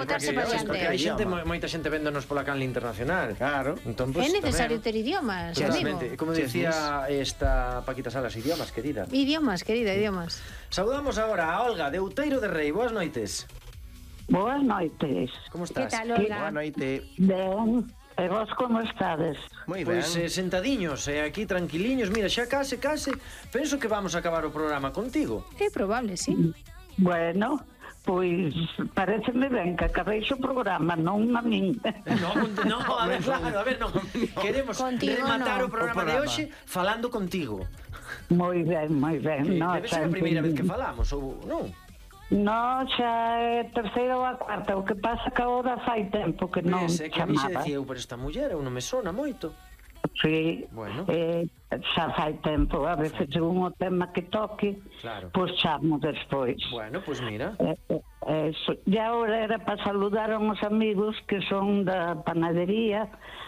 botarse para Porque hai diante. moita xente véndonos pola canle internacional. Claro. Entón, É necesario ter idiomas, amigo. Totalmente. Como decía esta Paquita Salas, idiomas, querida. Idiomas, querida, idiomas. Saudamos agora a Olga de Outeiro de Rei. Boas noites. Boas noites. Como Que estás? tal, Boa Olga? noite. Ben, e vos como estades? Moi ben. Pois sentadiños, aquí tranquiliños. Mira, xa case. Penso que vamos a acabar o programa contigo. É probable, sí. Bueno, pois pareceme ben que acabéis o programa, non a min. No, a ver, claro, a ver, non. Queremos Contigo rematar no. o programa de hoxe falando contigo. Moi ben, moi ben. No, Debe ser a primeira vez que falamos, ou non? No, xa é terceira ou a cuarta. O que pasa que agora fai tempo que non É que a mí xa chamaba. decía eu, pero esta muller eu non me sona moito. Sí, Bueno. xa fai tempo. A veces según o tema que toque, Claro. pois chamo despois. Bueno, pois mira. Eso. E agora era para saludar a uns amigos que son da panadería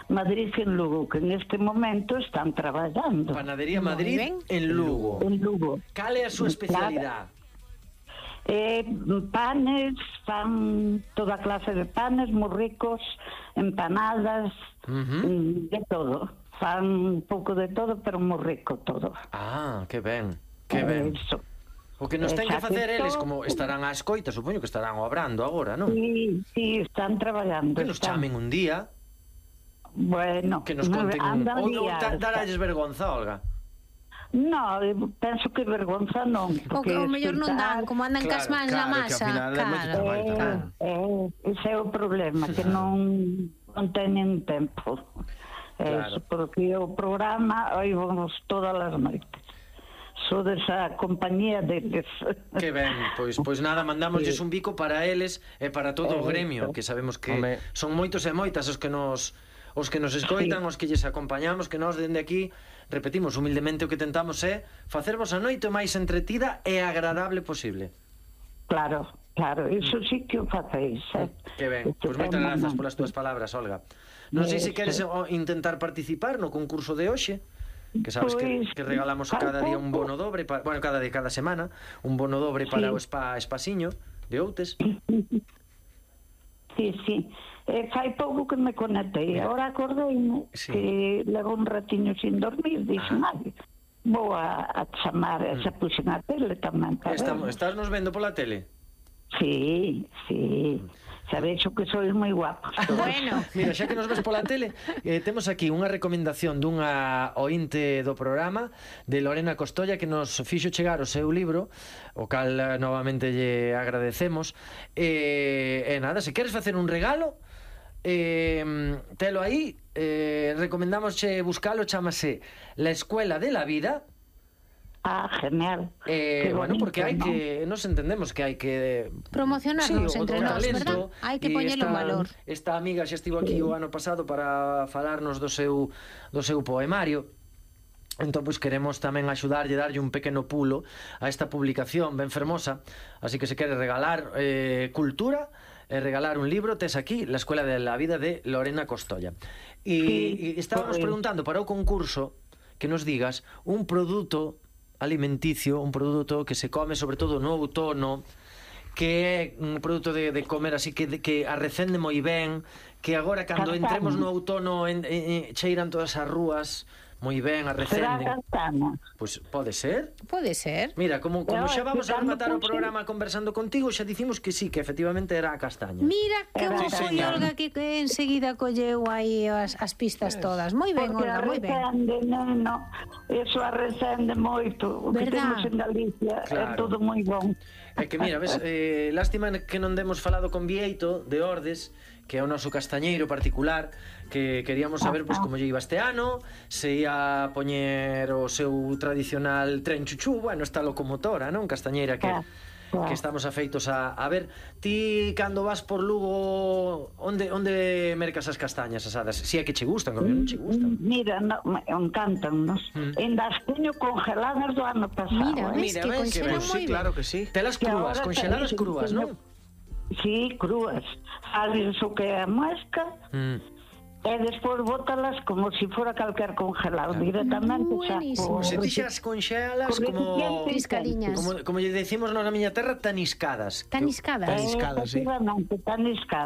Madrid en Lugo, que neste momento están traballando Panadería Moi Madrid ben. en Lugo. en Lugo. Cal é a súa especialidade? Panes, fan toda clase de panes, moi ricos, empanadas, de todo. Fan un pouco de todo, pero moi rico todo. Ah, que ben. Que ben. Eso. O que nos ten que Xa facer que eles, todo. como estarán á escoita, supoño que estarán obrando agora, non? Sí, están traballando. Que nos están. chamen un día, Bueno, que nos conten andan ou días. daralles vergonza, Olga. No, penso que vergonza non. O mellor non dan, como andan cas mans na claro, que masa. ao final é moito traballo tamén. Ese é o problema, que non teñen tempo. Claro. Porque o programa oímos todas as noites. Sodes a compañía deles. Que ben, pois nada, mandámoslles un bico para eles e para todo o gremio, que sabemos que Home. son moitos e moitas os que nos escoitan, os que lles acompañamos, que nós dende aquí repetimos humildemente o que tentamos é facervos a noite o máis entretida e agradable posible. Claro, iso sí que o facéis. Que ben, pois moitas grazas polas túas palabras, Olga. Non sei se queres intentar participar no concurso de hoxe, que sabes que regalamos cada día un bono dobre, cada semana, un bono dobre para o Espasiño de Outes. Sí. Fai pouco que me conectei. Agora acordeime que levo un ratiño sin dormir. Dixen, vou a chamar, xa puxen a tele tamén. Estás nos vendo pola tele? Sí. Sabéis que sois moi guapos. Bueno, Mira, xa que nos ves pola tele, temos aquí unha recomendación dunha ointe do programa de Lorena Costolla, que nos fixo chegar o seu libro, o cal novamente lle agradecemos. E nada, se queres facer un regalo, telo aí, recomendámosche buscalo, chamase La Escuela de la Vida. Genial. Bueno, porque hai que, nos entendemos que hai que promocionarnos o entre nós, talento, verdad? Hai que e poñelo en valor. Esta amiga xa estivo aquí o ano pasado para falarnos do seu poemario. Entón, pois queremos tamén axudarlle, darlle un pequeno pulo a esta publicación ben fermosa. Así que se quere regalar cultura e regalar un libro, tes aquí La Escuela de la Vida de Lorena Costolla. E estábamos preguntando para o concurso que nos digas un produto alimenticio, un produto que se come sobre todo no outono, que é un produto de comer así que arrecende moi ben, que agora cando entremos no outono cheiran todas as rúas moi ben, arrecenden. Será castaña. Pois pode ser. Pode ser. Mira, como xa vamos a rematar o programa conversando contigo, xa dicimos que sí, que efectivamente era a castaña. Mira que bo foi señor. Olga que enseguida colleu aí as pistas todas. Moi ben, Porque Olga, moi ben. arrecende, neno, eso arrecende moito. O que Verdad? temos en Galicia é Claro. todo moi bon. É que mira, ves, lástima que non demos falado con Vieito de Ordes, que é o noso castañeiro particular, que queríamos saber pois como lle iba este ano, se ia poñer o seu tradicional tren chuchú, bueno, esta locomotora, non? Castañeira que estamos afeitos a ver. Ti cando vas por Lugo, onde mercas as castañas asadas? Si é que che gustan, como non che gustan. Mira, encantannos. En das teño congeladas do ano pasado. Mira, ves que ves, conxelan sí, moi ben. claro que sí. Telas Que crúas, ahora conxeladas teño- crúas, non? Sí, crúas. Sabes o que é a muesca e despois bótalas como se fora calquer congelado directamente. Buenísimo. Se ti xa as conxelas como Triscadiñas. como lle decimos nós na miña terra, taniscadas. Taniscadas. Taniscadas, sí. Efectivamente, taniscadas.